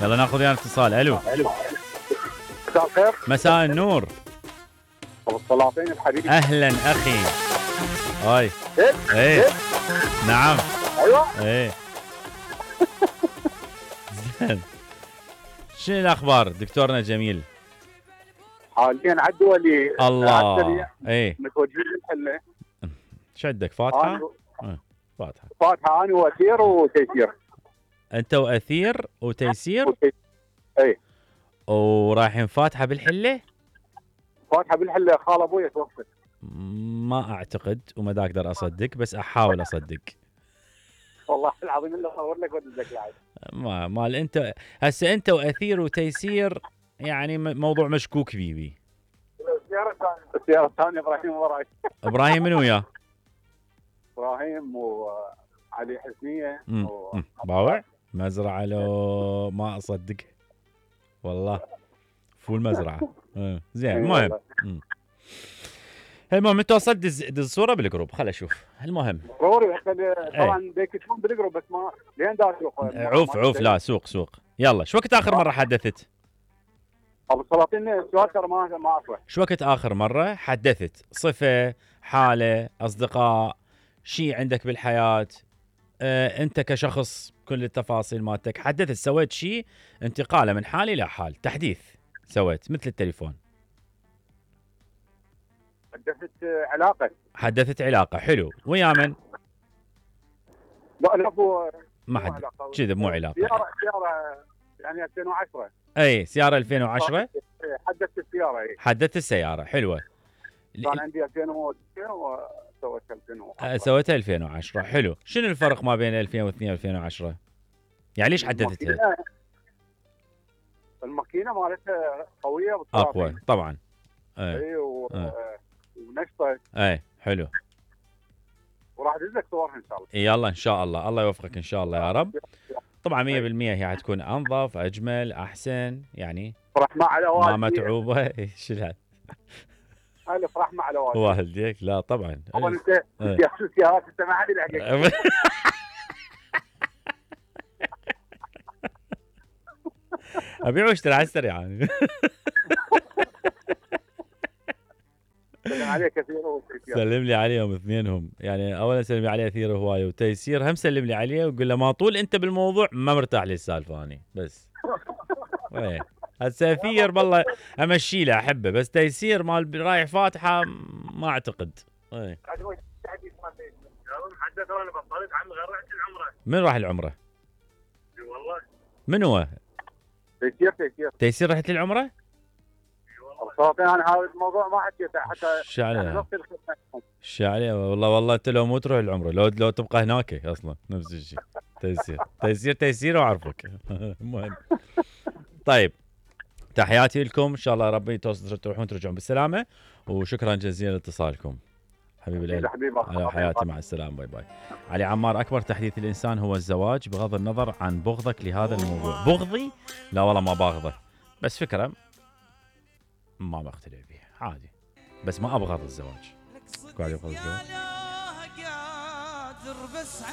يلا ناخذ ويانا اتصال. الو. مساء الخير. مساء النور. ابو السلاطين الحبيب. اهلا اخي. هاي. ايه نعم. ايوه. ايه. زين. شنو الاخبار دكتورنا جميل؟ حاليا على الدولي. الله. ايه. متوجهين للحله. شدك فاتحه؟ فاتحه. فاتحه انا واثير وتيسير. انت واثير وتيسير؟ ايه. ورايحين فاتحه بالحله؟ فاتحه بالحله. خال ابوي توفى. ما اعتقد وما دا اقدر اصدق، بس احاول اصدق. والله العظيم الا اصور لك وادزك العيد. مال انت هسه انت واثير وتيسير يعني موضوع مشكوك بيه. السياره الثانيه ابراهيم وراي. ابراهيم من وياه؟ ابراهيم وعلي حسنيه. باوع مزرعه لو ما اصدق والله. فول مزرعه. زين. المهم انت وصلت دز الصوره بالجروب. خل اشوف. المهم ضروري طبعا بيكتبون بالجروب بس ما لين داشوا. عوف لا سوق. يلا شو وقت اخر مره حدثت؟ ابو السلاطين السؤال ترى ما اعرفه. شو وقت اخر مره حدثت؟ صفه، حاله، اصدقاء، شيء عندك بالحياه، انت كشخص كل التفاصيل مالتك حدثت، سويت شيء انتقاله من حال الى حال، تحديث سويت مثل التليفون. حدثت علاقه. حلو. ويا من؟ لا ما حد كذا. مو علاقه. سياره يعني 2010. اي سياره 2010. حدثت السياره. اي حدثت السياره. حلوه. كان عندي 2002 وسويت 2010. سويتها 2010. حلو. شنو الفرق ما بين 2002 و2010؟ يعني ليش حدثتها؟ الماكينه مالتها قويه اقوى طبعا. اي ونشطه. اي حلو. وراح ادز لك صورها ان شاء الله. يلا ان شاء الله. الله يوفقك ان شاء الله يا رب. طبعا 100% هي حتكون انظف اجمل احسن يعني. رحمه على والديك. ما متعوبه. شو هذا؟ الف رحمه على والديك. والديك لا طبعا. طبعا انت السيارات انت ما حد يلحقك. ابيع واشتري على السريع يعني. سلم عليك كثير وتيسير. سلم لي عليهم اثنينهم يعني. اولا سلم لي عليه كثير هوايه وتيسير هم سلم لي عليه وقول له ما طول انت بالموضوع ما مرتاح لي السالفه اني بس. هسه اثير والله امشي له احبه بس تيسير مال رايح فاتحه ما اعتقد. من راح العمره؟ والله من هو؟ تيسير رحت للعمره؟ انا هذا الموضوع ما حكيته حتى. شو عليه والله انت لو مو تروح العمره لو تبقى هناك اصلا نفس الشيء. تيسير واعرفك. المهم طيب تحياتي لكم ان شاء الله ربي تروحون ترجعون بالسلامه وشكرا جزيلا لاتصالكم. حبيبي القلب على حياتي. مع السلامه. باي باي. علي عمار. اكبر تحديث الانسان هو الزواج بغض النظر عن بغضك لهذا الموضوع. بغضي؟ لا والله ما باغضه بس فكره ما بختلف بيها عادي بس ما ابغض الزواج. قاعد يبغض الزواج.